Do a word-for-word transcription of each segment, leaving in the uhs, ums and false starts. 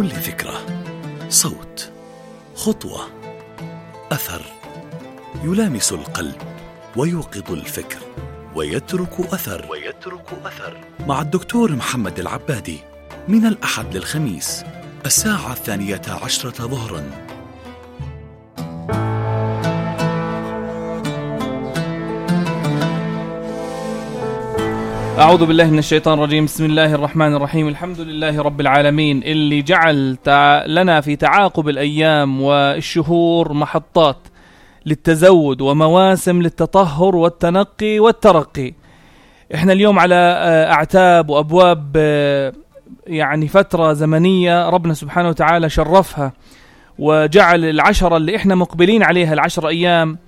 كل فكرة، صوت، خطوة، أثر يلامس القلب ويوقظ الفكر ويترك أثر ويترك أثر مع الدكتور محمد العبادي من الأحد للخميس الساعة الثانية عشرة ظهرا. أعوذ بالله من الشيطان الرجيم. بسم الله الرحمن الرحيم. الحمد لله رب العالمين اللي جعل لنا في تعاقب الأيام والشهور محطات للتزود ومواسم للتطهر والتنقي والترقي. احنا اليوم على أعتاب وأبواب يعني فترة زمنية ربنا سبحانه وتعالى شرفها وجعل العشرة اللي احنا مقبلين عليها العشر أيام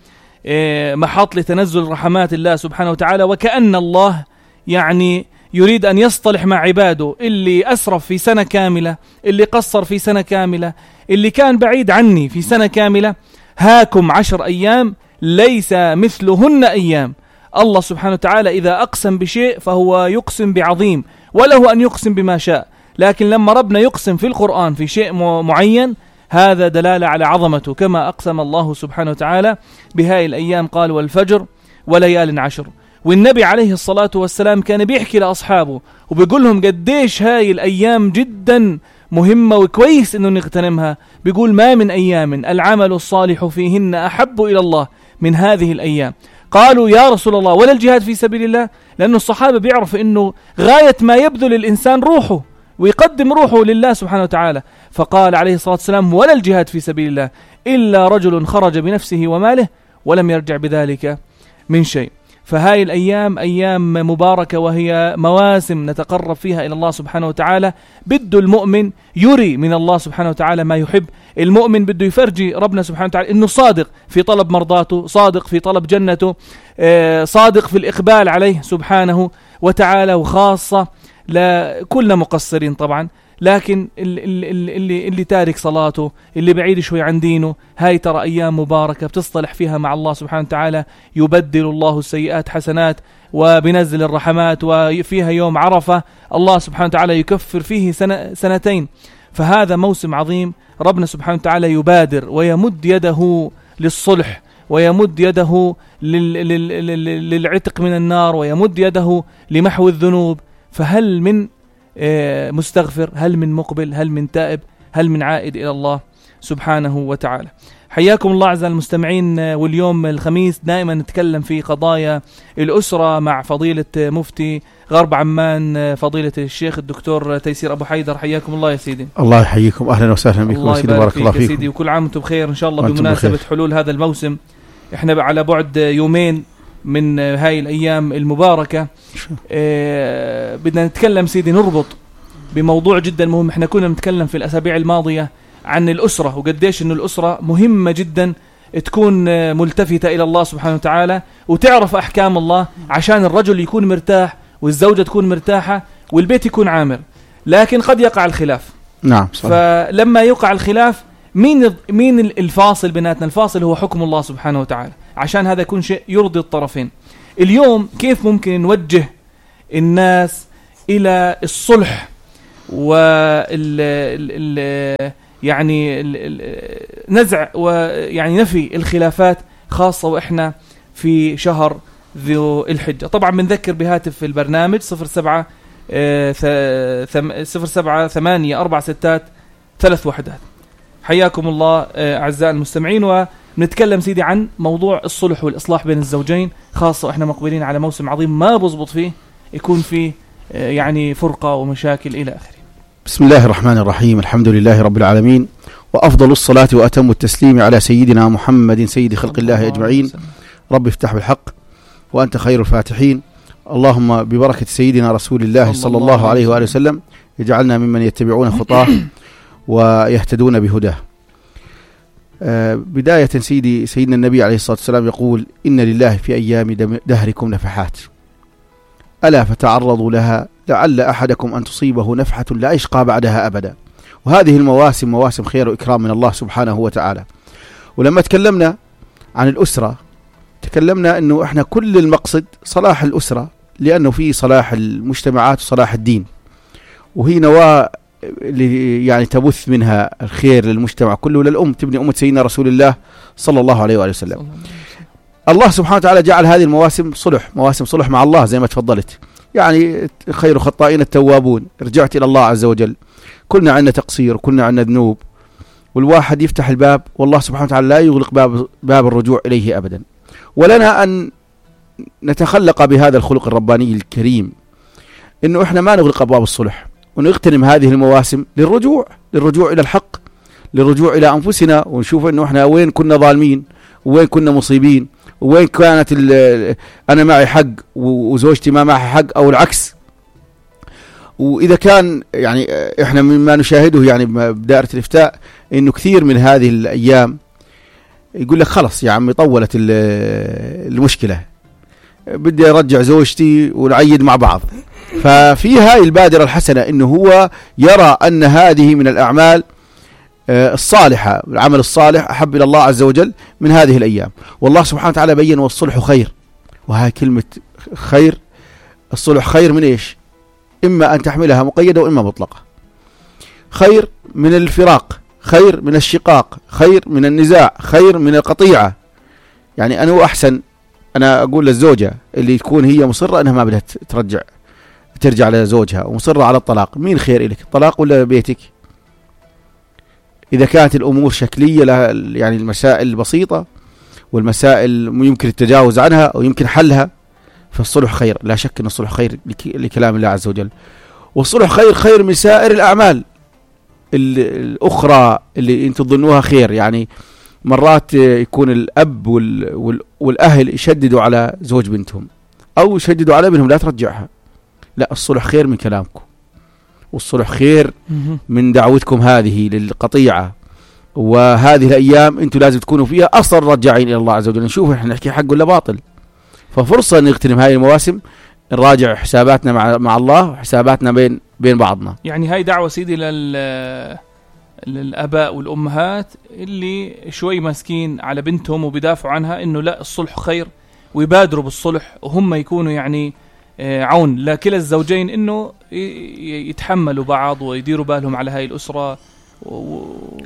محط لتنزل رحمات الله سبحانه وتعالى، وكأن الله يعني يريد أن يصطلح مع عباده، اللي أسرف في سنة كاملة، اللي قصر في سنة كاملة، اللي كان بعيد عني في سنة كاملة. هاكم عشر أيام ليس مثلهن أيام. الله سبحانه وتعالى إذا أقسم بشيء فهو يقسم بعظيم وله أن يقسم بما شاء، لكن لما ربنا يقسم في القرآن في شيء معين هذا دلالة على عظمته، كما أقسم الله سبحانه وتعالى بهاي الأيام قال والفجر وليال عشر. والنبي عليه الصلاة والسلام كان بيحكي لأصحابه وبيقول لهم قديش هاي الأيام جدا مهمة وكويس إنه نغتنمها. بيقول ما من أيام العمل الصالح فيهن أحب إلى الله من هذه الأيام. قالوا يا رسول الله ولا الجهاد في سبيل الله؟ لأنه الصحابة بيعرفوا إنه غاية ما يبذل الإنسان روحه ويقدم روحه لله سبحانه وتعالى. فقال عليه الصلاة والسلام ولا الجهاد في سبيل الله إلا رجل خرج بنفسه وماله ولم يرجع بذلك من شيء. فهاي الأيام أيام مباركة وهي مواسم نتقرب فيها إلى الله سبحانه وتعالى. بده المؤمن يري من الله سبحانه وتعالى ما يحب. المؤمن بده يفرجي ربنا سبحانه وتعالى إنه صادق في طلب مرضاته، صادق في طلب جنته، صادق في الإقبال عليه سبحانه وتعالى، وخاصة لكلنا مقصرين طبعا، لكن اللي, اللي, اللي تارك صلاته، اللي بعيد شوي عن دينه، هاي ترى أيام مباركة بتصطلح فيها مع الله سبحانه وتعالى. يبدل الله السيئات حسنات وبنزل الرحمات، وفيها يوم عرفة الله سبحانه وتعالى يكفر فيه سنة سنتين. فهذا موسم عظيم ربنا سبحانه وتعالى يبادر ويمد يده للصلح ويمد يده للعتق من النار ويمد يده لمحو الذنوب. فهل من مستغفر؟ هل من مقبل؟ هل من تائب؟ هل من عائد إلى الله سبحانه وتعالى؟ حياكم الله أعزائي المستمعين. واليوم الخميس دائما نتكلم في قضايا الأسرة مع فضيلة مفتي غرب عمان فضيلة الشيخ الدكتور تيسير أبو حيدر. حياكم الله يا سيدي. الله يحييكم، أهلا وسهلا بكم. الله يبارك فيك يا سيدي، وكل عام وانتم بخير إن شاء الله بمناسبة حلول هذا الموسم. احنا على بعد يومين من هاي الأيام المباركة. اه بدنا نتكلم سيدي، نربط بموضوع جدا مهم. احنا كنا نتكلم في الأسابيع الماضية عن الأسرة وقديش إنه الأسرة مهمة جدا تكون ملتفتة إلى الله سبحانه وتعالى وتعرف أحكام الله عشان الرجل يكون مرتاح والزوجة تكون مرتاحة والبيت يكون عامر. لكن قد يقع الخلاف. نعم صحيح. فلما يقع الخلاف مين مين الفاصل بيناتنا؟ الفاصل هو حكم الله سبحانه وتعالى، عشان هذا يكون شيء يرضي الطرفين. اليوم كيف ممكن نوجه الناس إلى الصلح وال ال يعني ال نزع ويعني نفي الخلافات، خاصة وإحنا في شهر ذو الحجة. طبعا بنذكر بهاتف البرنامج صفر سبعة صفر سبعة ثمانية أربعة ستات ثلاث وحدات. حياكم الله أعزائي المستمعين. ونتكلم سيدي عن موضوع الصلح والإصلاح بين الزوجين، خاصة وإحنا مقبلين على موسم عظيم ما بضبط فيه يكون فيه يعني فرقة ومشاكل إلى آخره. بسم الله الرحمن الرحيم. الحمد لله رب العالمين، وأفضل الصلاة وأتم التسليم على سيدنا محمد سيد خلق الله أجمعين. رب افتح بالحق وأنت خير الفاتحين. اللهم ببركة سيدنا رسول الله صلى الله عليه وآله وسلم يجعلنا ممن يتبعون خطاه ويهتدون بهداه. آه بداية سيدي سيدنا النبي عليه الصلاة والسلام يقول إن لله في أيام دهركم نفحات ألا فتعرضوا لها لعل أحدكم أن تصيبه نفحة لا يشقى بعدها أبدا. وهذه المواسم مواسم خير وإكرام من الله سبحانه وتعالى. ولما تكلمنا عن الأسرة تكلمنا أنه إحنا كل المقصد صلاح الأسرة، لأنه في صلاح المجتمعات وصلاح الدين، وهي نواة اللي يعني تبث منها الخير للمجتمع كله، للأم تبني أمة سيدنا رسول الله صلى الله عليه وآله وسلم. الله سبحانه وتعالى جعل هذه المواسم صلح، مواسم صلح مع الله زي ما تفضلت. يعني خير خطائين التوابون، رجعت إلى الله عز وجل. كلنا عندنا تقصير وكلنا عندنا ذنوب، والواحد يفتح الباب والله سبحانه وتعالى لا يغلق باب, باب الرجوع إليه أبدا. ولنا أن نتخلق بهذا الخلق الرباني الكريم، إنه إحنا ما نغلق أبواب الصلح، ونغتنم هذه المواسم للرجوع للرجوع إلى الحق، للرجوع إلى أنفسنا، ونشوف إنه إحنا وين كنا ظالمين، وين كنا مصيبين، وين كانت أنا معي حق وزوجتي ما معي حق، أو العكس. وإذا كان يعني إحنا مما نشاهده يعني بدائرة الإفتاء إنه كثير من هذه الأيام يقول لك خلص يا عمي طولت المشكلة، بدي أرجع زوجتي ونعيد مع بعض. ففي هاي البادرة الحسنة إنه هو يرى أن هذه من الأعمال الصالحة، العمل الصالح أحب إلى الله عز وجل من هذه الأيام. والله سبحانه وتعالى بيّن والصلح خير، وهاي كلمة خير، الصلح خير من إيش؟ إما أن تحملها مقيدة وإما مطلقة. خير من الفراق، خير من الشقاق، خير من النزاع، خير من القطيعة. يعني أنا أحسن أنا أقول للزوجة اللي تكون هي مصرة أنها ما بدها ترجع ترجع لزوجها ومصرة على الطلاق، مين خير إليك، الطلاق ولا بيتك؟ إذا كانت الأمور شكلية لها يعني المسائل البسيطة والمسائل يمكن التجاوز عنها أو يمكن حلها، فالصلح خير، لا شك أن الصلح خير لكلام الله عز وجل. والصلح خير خير من سائر الأعمال الأخرى اللي أنتم تظنوها خير. يعني مرات يكون الأب والأهل يشددوا على زوج بنتهم أو يشددوا على ابنهم لا ترجعها، لا، الصلح خير من كلامكم، والصلح خير من دعوتكم هذه للقطيعة. وهذه الأيام أنتم لازم تكونوا فيها أصلا رجعين إلى الله عز وجل، نشوف إحنا نحكي حق ولا باطل. ففرصة نغتنم هاي المواسم، نراجع حساباتنا مع مع الله وحساباتنا بين بين بعضنا. يعني هاي دعوة سيدي لل للآباء والأمهات اللي شوي ماسكين على بنتهم وبيدافعوا عنها إنه لا الصلح خير، ويبادروا بالصلح، وهم يكونوا يعني عون لكلا الزوجين إنه يتحملوا بعض ويديروا بالهم على هاي الأسرة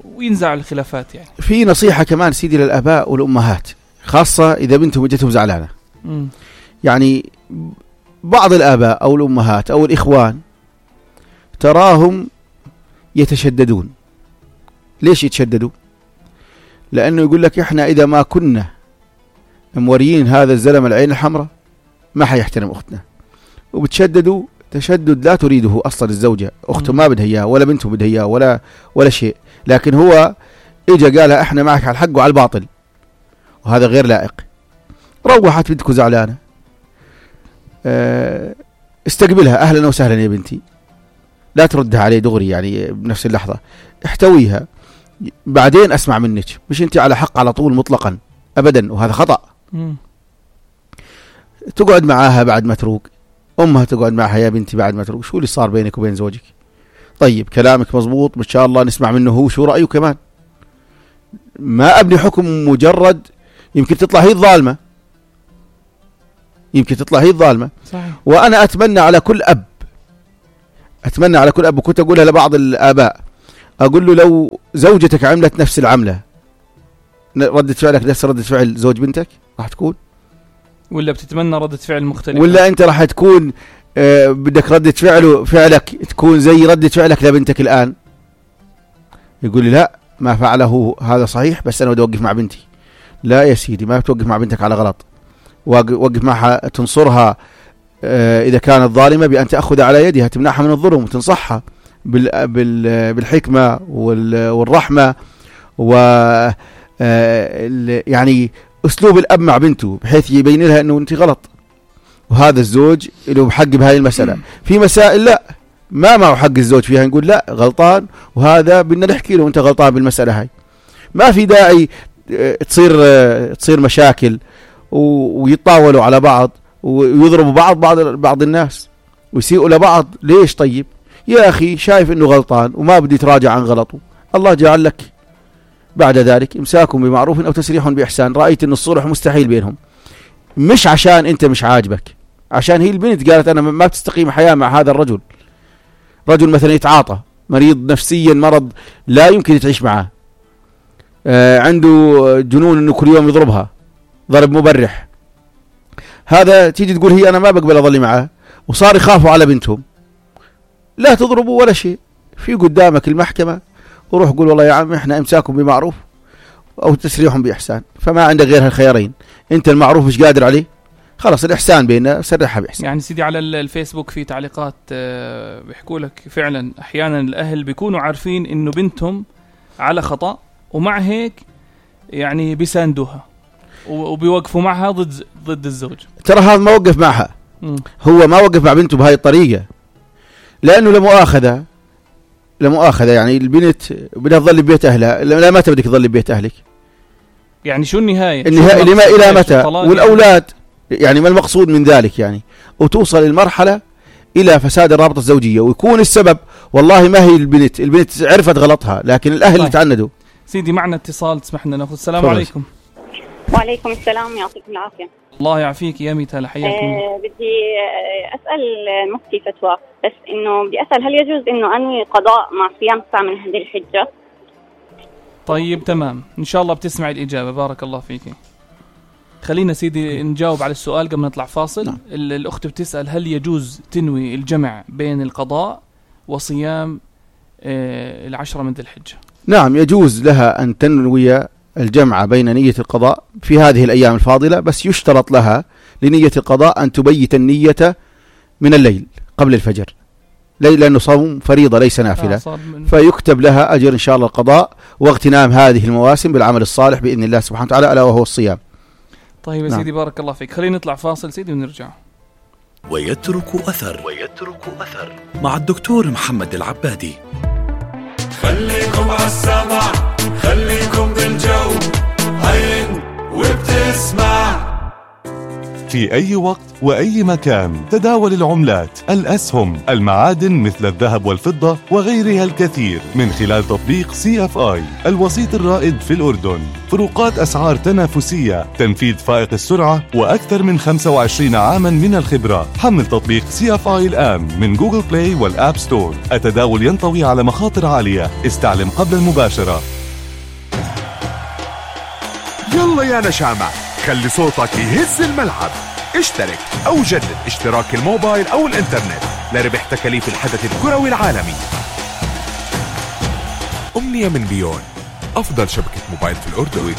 وينزع الخلافات. يعني في نصيحة كمان سيدي للآباء والأمهات، خاصة إذا بنتهم وجدتهم زعلانة. م. يعني بعض الآباء أو الأمهات أو الإخوان تراهم يتشددون. ليش يتشددوا؟ لأنه يقول لك إحنا إذا ما كنا موريين هذا الزلم العين الحمراء ما حيحترم أختنا، وبتشددوا تشدد لا تريده أصلا الزوجة، أخته ما بدها إياه ولا بنته بدها إياه ولا ولا شيء، لكن هو إجا قالها إحنا معك على الحق وعلى الباطل، وهذا غير لائق. روحت بنتكم زعلانة، استقبلها أهلا وسهلا يا بنتي، لا تردها عليه دغري يعني بنفس اللحظة، احتويها، بعدين أسمع منك، مش أنت على حق على طول مطلقا أبدا، وهذا خطأ. م. تقعد معاها بعد ما تروق، أمها تقعد معها يا بنتي بعد ما تروق، شو اللي صار بينك وبين زوجك؟ طيب كلامك مزبوط ما شاء الله، نسمع منه هو شو رأيه كمان، ما أبني حكم مجرد، يمكن تطلع هي الظالمة، يمكن تطلع هي الظالمة. صحيح. وأنا أتمنى على كل أب، أتمنى على كل أب، وكنت أقولها لبعض الآباء، أقول له لو زوجتك عملت نفس العملة ردة فعلك نفس ردة فعل زوج بنتك راح تكون، ولا بتتمنى ردة فعل مختلفة، ولا أنت راح تكون آه بدك ردة فعله فعلك تكون زي ردة فعلك لبنتك الآن؟ يقول لي لا ما فعله هذا صحيح، بس أنا بدي أوقف مع بنتي. لا يا سيدي، ما بتوقف مع بنتك على غلط، وقف معها تنصرها آه إذا كانت ظالمة بأن تأخذ على يدها، تمنعها من الظلم وتنصحها بال بال بالحكمة والرحمة، و آه يعني أسلوب الأب مع بنته بحيث يبين لها أنه أنت غلط، وهذا الزوج له حق بهاي المسألة. في مسائل لا ما معه حق الزوج فيها، نقول لا غلطان، وهذا بدنا نحكي له أنت غلطان بالمسألة هاي. ما في داعي تصير تصير مشاكل ويتطاولوا على بعض ويضربوا بعض بعض بعض الناس ويسيئوا لبعض. ليش؟ طيب يا أخي شايف أنه غلطان وما بدي تراجع عن غلطه، الله جعل لك بعد ذلك إمساكم بمعروف أو تسريح بإحسان. رأيت أن الصلح مستحيل بينهم، مش عشان أنت مش عاجبك، عشان هي البنت قالت أنا ما بتستقيم حياة مع هذا الرجل. رجل مثلا يتعاطى مريض نفسيا مرض لا يمكن تعيش معه، آه عنده جنون انه كل يوم يضربها ضرب مبرح، هذا تيجي تقول هي انا ما بقبل اظل معه، وصار يخافوا على بنتهم. لا تضربوا ولا شيء، في قدامك المحكمة وروح قول والله يا عم احنا امساكم بمعروف او تسريحهم باحسان، فما عندك غير هالخيارين. انت المعروف مش قادر عليه، خلاص الإحسان بيننا سرحها بإحسان. يعني سيدي على الفيسبوك في تعليقات بيحكوا لك فعلا أحيانا الأهل بيكونوا عارفين إنه بنتهم على خطأ ومع هيك يعني بيساندوها وبيوقفوا معها ضد ضد الزوج. ترى هذا ما وقف معها، م. هو ما وقف مع بنته بهاي الطريقة، لأنه لمؤاخذة لمؤاخذة يعني البنت بدها تظل ببيت أهلها. لا متى بدك تظل ببيت أهلك؟ يعني شو النهاية؟ النهاية لما إلى متى؟ والأولاد يعني ما المقصود من ذلك يعني؟ وتوصل المرحلة إلى فساد الرابطة الزوجية ويكون السبب والله ما هي البنت، البنت عرفت غلطها لكن الأهل اللي تعندوا. سيدي معنا اتصال تسمح لنا ناخذ. السلام فرص. عليكم. وعليكم السلام، يعطيكم العافية. الله يعافيك يا ميتال، حياك الله. أه بدي أسأل المفتي فتوى، بس إنه بدي أسأل هل يجوز إنه أنوي قضاء مع صيام ساعة من هذه الحجة؟ طيب تمام، إن شاء الله بتسمع الإجابة. بارك الله فيكي. خلينا سيدي نجاوب على السؤال قبل ما نطلع فاصل. نعم. الأخت بتسأل هل يجوز تنوي الجمع بين القضاء وصيام آه العشرة من ذي الحجة؟ نعم يجوز لها أن تنوي الجمع بين نية القضاء في هذه الأيام الفاضلة، بس يشترط لها لنية القضاء أن تبيت النية من الليل قبل الفجر، لأنه صوم فريضة ليس نافلة، آه فيكتب لها أجر إن شاء الله القضاء واغتنام هذه المواسم بالعمل الصالح بإذن الله سبحانه وتعالى، ألا وهو الصيام. طيب يا نعم. سيدي بارك الله فيك. خلينا نطلع فاصل سيدي ونرجع. ويترك أثر ويترك أثر مع الدكتور محمد العبادي. خليكم عالسمع، خليكم بالجو، عين وبتسمع. في أي وقت وأي مكان تداول العملات، الأسهم، المعادن مثل الذهب والفضة وغيرها الكثير من خلال تطبيق سي اف آي الوسيط الرائد في الأردن. فروقات أسعار تنافسية، تنفيذ فائق السرعة، وأكثر من خمسة وعشرين عاما من الخبرة. حمل تطبيق سي اف آي الآن من جوجل بلاي والآب ستور. التداول ينطوي على مخاطر عالية، استعلم قبل المباشرة. يلا يا نشامة، خلي صوتك يهز الملعب. اشترك أو جدد اشتراك الموبايل أو الإنترنت لربح تكاليف الحدث الكروي العالمي. أمنية من بيون، أفضل شبكة موبايل في الأردن.